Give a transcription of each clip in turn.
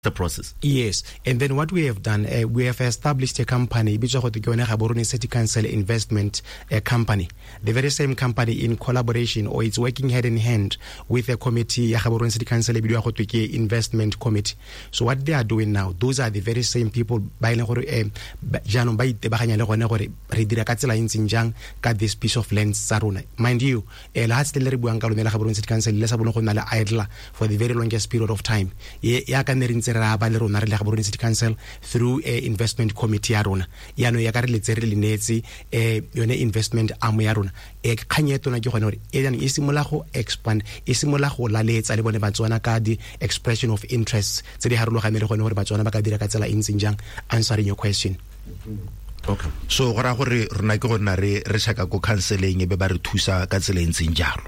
The process. Yes, and then what we have done, we have established a company, e bitswa gote ke yone Gaborone City Council Investment Company. The very same company in collaboration, or it's working hand in hand with a committee ya Gaborone City Council e bidiwa gotwe ke Investment Committee. So what they are doing now, those are the very same people ba e leng gore jaanong ba itebaganya le gone gore re dira ka tsela e ntseng jang ka this piece of land tsa rona. Mind you, lehatshe le le re buang ka lone la Gaborone City Council le sa bone go nna le idler for the very longest period of time. Ye ya ka ne re ntse re aba le rona re le Gaborone City Council through a investment committee ya rona. Yaanong ya ka re letse re le neetse yone investment arm ya rona. Kgang e tona ke gone gore e jaanong e simolola go expand, e simolola go laletsa le bone Batswana ka di expression of interests tse di harologaneng le gone gore Batswana ba ka dira ka tsela e ntseng jang. Answering your question. Okay. So go raya gore rona ke go nna re checka ko counseling e be ba re thusa ka tsela e ntseng jalo.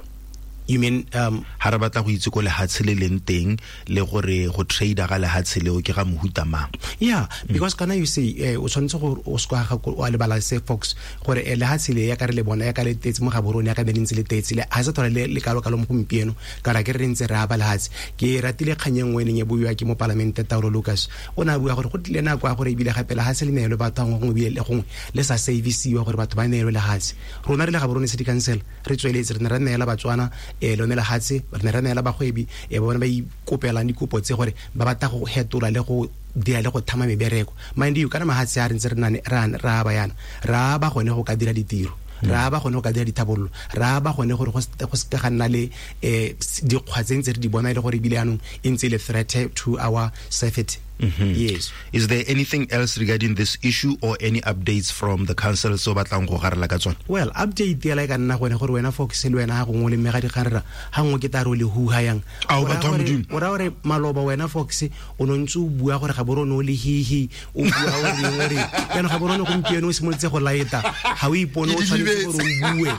You mean, ha re batla go itse ko lehatshe le leng teng le gore go trade ga lehatshe leo ke ga mohuta mang? Yeah, because kana you see, o tshwanetse gore o se ka ga o lebala se Fox gore lehatshe le ya ka re le bona ya ka le tetse mo Gaborone ya ka ne le ntse le tetse le ha se thola le kalo kalo mo gompieno ka ra ke re ntse re aba lehatshe. Ke ratile kgang e nngwe e neng e buiwa ke mopalamente Taolo Lucas, o ne a bua gore go tlile nako ya gore ebile gape lehatshe le neelwe batho gongwe gongwe ebile le gongwe le sa servisiwa gore batho ba neelwe lehatshe. Rona re le Gaborone City Council re tsweletse re ne ra neela Batswana lone lehatshe, re ne ra neela bagwebi bone ba ikopelang dikopo tse gore ba batla go hetola le go dira le go thama mebereko. Mind you, kana mahatshe a re ntse re nane, ra, ra ba yana, ra ba gone go ka dira ditiro, ra ba gone go ka dira dithabololo, ra ba gone gore go se ka ga nna le dikgwa tse ntse re di bona e le gore ebile jaanong e ntse e le threat to our safety. Yes. Is there anything else regarding this issue or any updates from the council so batlang go garela ka tsone? Well, update ya la e ka nna gone gore wena Fox le wena ga gongwe le mmega dikgang rra, ga nngwe ke taro le huha yang. Ao, batho ba Modimo. O raya gore maloba wena Fox o ne ntse o bua gore Gaborone o le hihi, o bua o reng o reng. Jaanong Gaborone gompieno o simolotse go laeta, ga o ipone o tshwanetse gore o bue.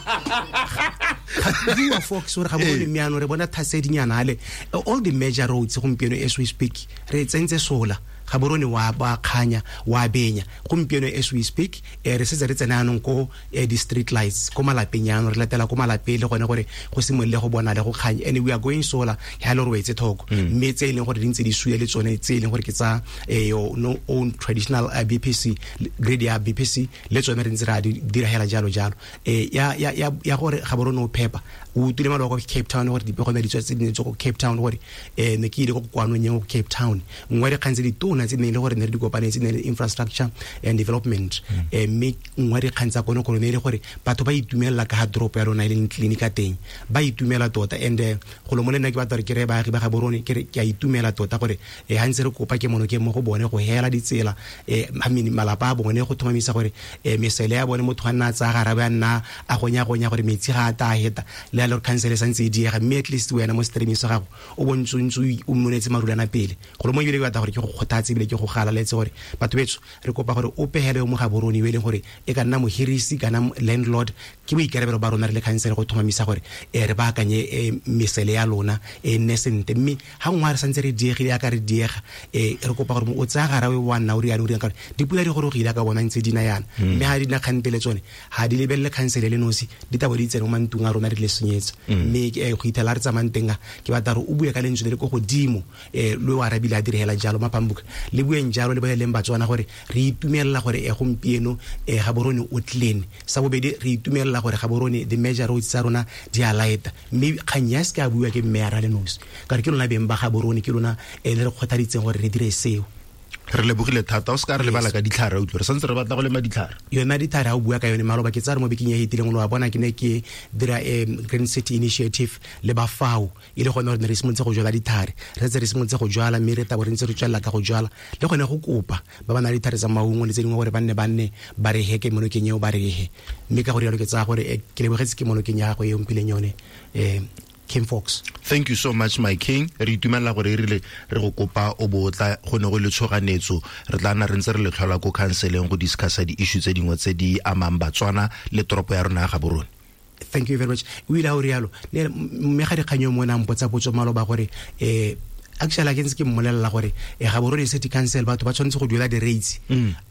Ga bua Fox gore Gaborone mme jaanong re bona thasedinyana ale. All the major roads gompieno as we speak re tsentse sola. Gaborone wa ba kganya, wa benya. Gompieno as we speak, re setse re tsena jaanong ko di street lights ko malapeng jaanong, re latela ko malapeng le gone gore go simolole go bona le go kganya. And we are going solar, ha le re wetse thoko. Mme tse e leng gore di ntse di sule le tsone tse e leng gore ke tsa your no own traditional BPC, grid ya BPC, le tsone re ntse ra di dira hela jalo jalo. Ya gore Gaborone o phepa. O utlwile maloba kwa Cape Town gore dipego ne di tswa tse di neng tswa ko Cape Town gore ne ke ile ko kokoanong ya ko Cape Town. Nngwe ya dikgang tse di tona tse di neng e le gore ne re di kopanetse ne le infrastructure and development. Mme nngwe ya dikgang tsa konokono ne e le gore batho ba itumelela ka ga toropo ya rona e leng clinic ka teng. Ba itumela tota. And golo mo le nna ke batla gore ke reye baagi ba Gaborone, ke re ke a itumela tota gore ha ntse re kopa ke mono ke mo go bone go hela ditsela, I mean, malapa a bone go tlhomamisa gore mesele ya bone motho a nna a tsaya garawe a nna a gonya-gonya gore metsi ga a ta a heta, le a le gore council e santse e diega, mme at least wena mo streaming sa gago o bontse o ntse o mmonetse marulana pele. Golo mo ebile ke batla gore ke go kgothatse ebile ke go galaletse gore batho betsho re kopa gore o pegele yo mo Gaborone yo e leng gore e ka nna mohirisi kana landlord, ke boikarabelo ba rona re le council go tlhomamisa gore re baakanye mesele ya lona e nne sentle. Mme ha nngwe re santse re diegile ya ka re diega, re kopa gore o tsaya garawe wa nna o riana o riana ka gore dipula di gorogile ka bona ntse di na yana. Mme ha di na kgantele tsone ha di lebelele council le nosi, di tabo di tsene mo mantlong a rona re le senyetsa. Mme go ithela re tsamayang teng a, ke batla gore o bue ka lentswe le le ko godimo, le o arabile a direla jalo Mapambuka, le bueng jalo le boleleng Batswana gore re itumelela gore gompieno Gaborone o clean. Sa bobedi, re itumelela gore Gaborone the major roads tsa rona di a lighta. Mme kgang ya se ka bua ke mme a ra le nosi, ka gore ke lona beng ba Gaborone, ke lona le re kgothaditseng gore re dire seo. Re lebogile thata, o se ka re lebala ka ditlhare, utlwe, re santse re batla go lema ditlhare. Yona ditlhare ha o bua ka yone maloba, ke tsaya re mo bekeng e fetileng lo a bona ke ne ke dira Green City Initiative le ba FAO, e le gone gore ne re simolotse go jwala ditlhare, re setse re simolotse go jwala, mme re tabo re ntse re tswelela ka go jwala le gone go kopa ba ba nang le ditlhare tsa maungo le tse dingwe gore ba nne ba nne ba re he ke monokeng eo ba re he. Mme ka go rialo ke tsaya gore ke lebogetse ke monokeng ya gago e o mphileng yone, King Fox. Thank you so much, my king. Re itumela gore e rile re go kopa o bo tla go ne go le tshoganetso, re tla nna re ntse re le tlhola ko counseling go discussa di-issue tse dingwe tse di amang Batswana le toropo ya rona ya Gaborone. Thank you very much. O ile a o rialo. Ne, mme ga dikgang yo mongwe a mpotsa potso maloba gore Actually ke ntse ke mmolelela gore e Gaborone City Council batho ba tshwanetse go duela di-rates.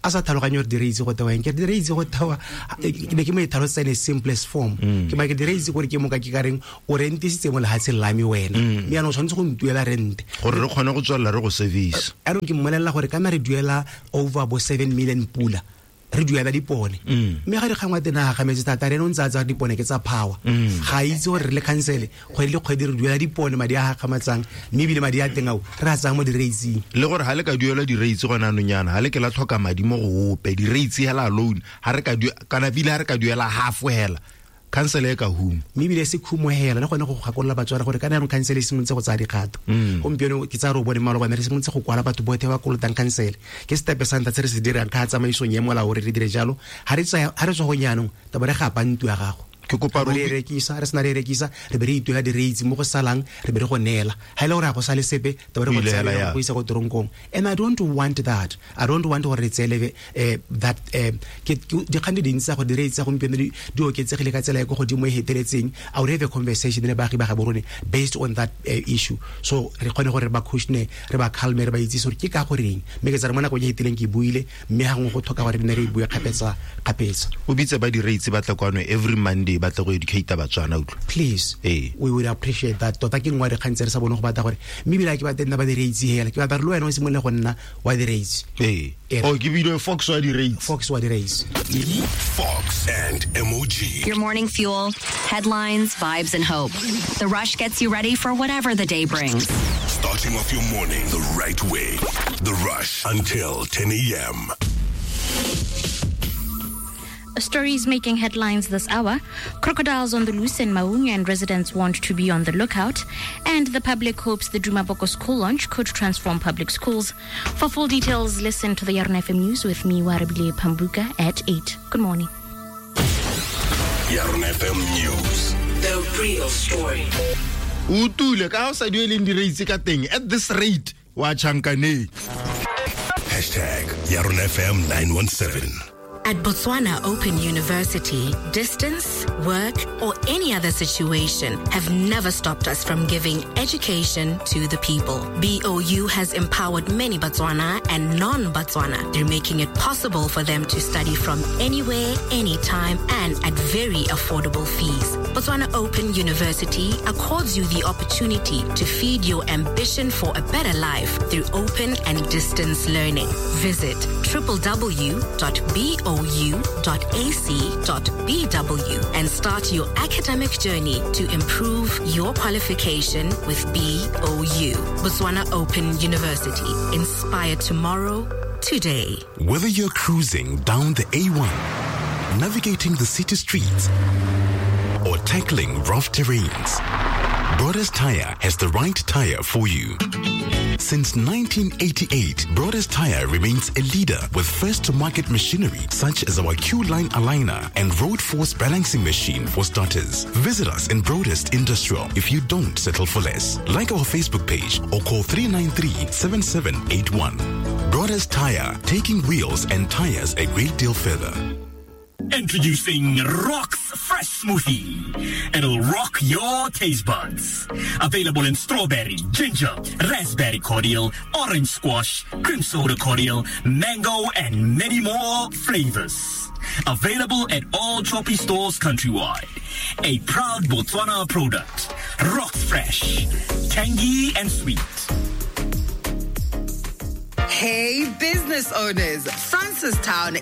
A sa tlhaloganye gore di-rates go tewa eng. Ke re di-rates go tewa, ke ne ke mo e tlhalosetsa in a simplest form. Ke ma ke di-rates gore ke moka ke ka reng o rentisitse mo lehatsheng la me wena, mme yaanong o tshwanetse go ntuela rente gore re kgone go tswelela re go service. Yaanong ke mmolelela gore kana re duela over bo 7 million pula re duela dipone, mme ga dikgangwa teng a gagametse thata, re ene o ntse a tsaya dipone ke tsa power, ga itse gore re le council kgwedi le kgwedi re duela dipone madi a gakgamatsang, mme ebile madi a teng ao re a tsaya mo di-rateseng. Le gore ga le ka duela di-rates gone anong yana, ga le ke la tlhoka madi mo go ope, di-rates hela alone ga re ka kana ebile ga re ka duela half hela, council e ka huma. Mme ebile se khumo hela le gone go gakolola Batswana gore kana jaanong council e simolotse go tsaya dikgato. Gompieno ke tsaya re o bone malobane re simolotse go kwala batho botlhe ba kolotang council. Ke stepe sa ntlha se re se dirang ka tsamaisong ya molao gore re dire jalo. Ha re tsaya, ha re tswa go jaanong, taba re gapa ntlo ya gago. Ke kopa Re rekisa, re sena re rekisa, re be re ituela di-rates mo go salang, re be re go neela. Ha e le gore ga go sale sepe, taba re go O ile hela tsaya ya. go isa ko toronkong. And I don't want that. I don't want gore re tseele, that, ke dikgang di dintsi tsa gore di-rates tsa gompieno di oketsegile ka tsela e ko godimo e heteletseng. I would have a conversation le baagi ba Gaborone based on that issue. So re kgone gore re ba caution-e, re ba calme, re ba itsise gore ke ka goreng. Mme ke tsa re mo nakong e heteleng ke buile, mme gangwe go tlhoka gore re nne re e bue kgapetsa, kgapetsa. O bitse ba di-rates ba tla kwano every Monday ba tla go educate Batswana, utlwa. Please. We would appreciate that. Tota ke nngwe ya dikgang tse re sa boneng go batla gore mme ebile ha ke batle nna ba di-rates hela, ke batla gore le wena o simolole go nna wa di-rates. Oh, ke bile Fox wa di-rates. Fox wa di-rates. Fox and MOG. Your morning fuel, headlines, vibes, and hope. The Rush gets you ready for whatever the day brings. Starting off your morning the right way. The Rush until 10 a.m. Stories making headlines this hour. Crocodiles on the loose in Maun and residents want to be on the lookout. And the public hopes the Duma Boko school launch could transform public schools. For full details, listen to the Yarona FM News with me, Warabile Pambuka, at 8. Good morning. Yarona FM News. The real story. Utule, ka o sa dueleng di-rates ka teng, at this rate, wa chankaneng. Hashtag Yarona FM 917. At Botswana Open University, distance, work, or any other situation have never stopped us from giving education to the people. BOU has empowered many Botswana and non-Botswana through making it possible for them to study from anywhere, anytime, and at very affordable fees. Botswana Open University accords you the opportunity to feed your ambition for a better life through open and distance learning. Visit www.bou.ac.bw and start your academic journey to improve your qualification with BOU. Botswana Open University. Inspire tomorrow, today. Whether you're cruising down the A1, navigating the city streets, or tackling rough terrains, Broadest Tire has the right tire for you. Since 1988, Broadest Tire remains a leader with first-to-market machinery such as our Q-Line aligner and Road Force balancing machine for starters. Visit us in Broadest Industrial if you don't settle for less. Like our Facebook page or call 393-7781. Broadest Tire, taking wheels and tires a great deal further. Introducing Rock's Fresh Smoothie. It'll rock your taste buds. Available in strawberry, ginger, raspberry cordial, orange squash, cream soda cordial, mango, and many more flavors. Available at all Choppies stores countrywide. A proud Botswana product. Rock's Fresh. Tangy and sweet. Hey, business owners. Francistown